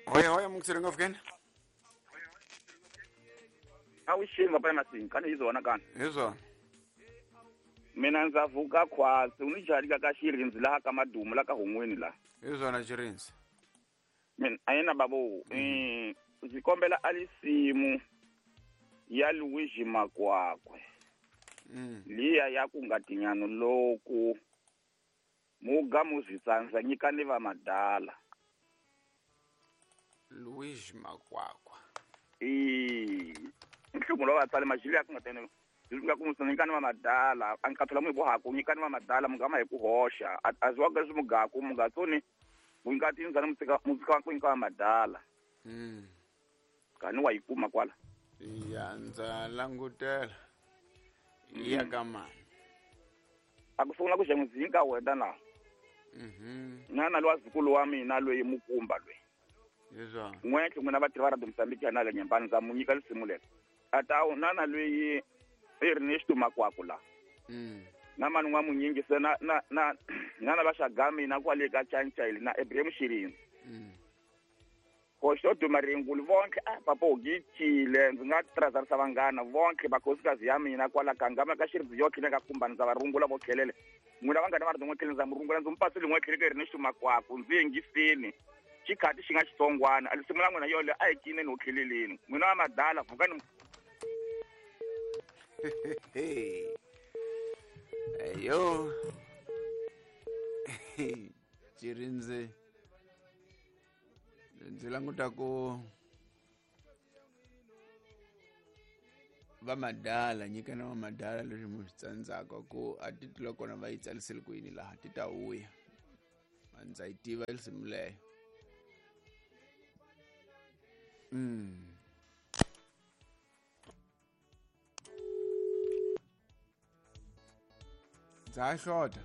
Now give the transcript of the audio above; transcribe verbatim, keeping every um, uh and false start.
Hoya hoya mungiseri ngofukeni. Awuxini papa Masinga kani hi zona kani. Hi swona. Mina ndza vuka khwatsi u ni jarika ka xirindzi laha ka madumu la ka hun'wini la. Hi swona xirindzi. Mina a yena babo eh ndzi kombela alisimu ya Luigi Makwakwe. Mm. Liya ya ku nga tinyano loku muga muzitsandza nyikani va madala. Luigi Makwakwa. Eh nhlungu lowa vatsali majili ya ku nga tene nga ku musana nyikani va madala a nkathola mu bohaku nyikani va madala mugama hi ku hoxa a zwa ga swi mugaku mugatsoni mungati nzana mutsika mutsika ku nyika va madala. Mm. Kani wa yi kuma kwala. Ya ndza langutela. Ya ka mani. A ku sungula ku xan'wizinga wena na. Mhm. Na na lwa zukulu wa mina loyi mukumba loyi. Hi swona. N'wetlhe n'wina vatirhi va Radio Mozambique ya na le Nyembani ndza mu nyika risimu leri. Ata na na loyi Ernesto Makwakwa la. Mm. Na mani n'wa munyingi se na na na na na va xagami na kwale ka Chanchayile na Ibrahim Shirinzi. Mm. Hoxo Dumaringulu vonke a papa u gicile ndzi nga trazarisa vanghana vonke vakhosikazi ya mina kwala ka ngama ka Xirindzi yo tlhela ka kumbani ndza va rungula vo tlhelele. N'wina vanghana va ri n'we tlhela ndza mu rungula ndzi mu pasile n'we tlhela ka Ernesto Makwakwa ndzi yingisini. Xikhati xi nga xitsongwana a lisimu la n'wina yole a hi cineni ho tlheleleni. N'wina wa madala vukani. Ayo. Xirindzi. Ndzi languta ku va madala nyikana va madala leswi mu swi tsandzaka ku a ti tula kona va yi tsarisele ku yini laha ti ta vuya. A ndza yi tiva risimu leyo. Mm. Ndza ha xota.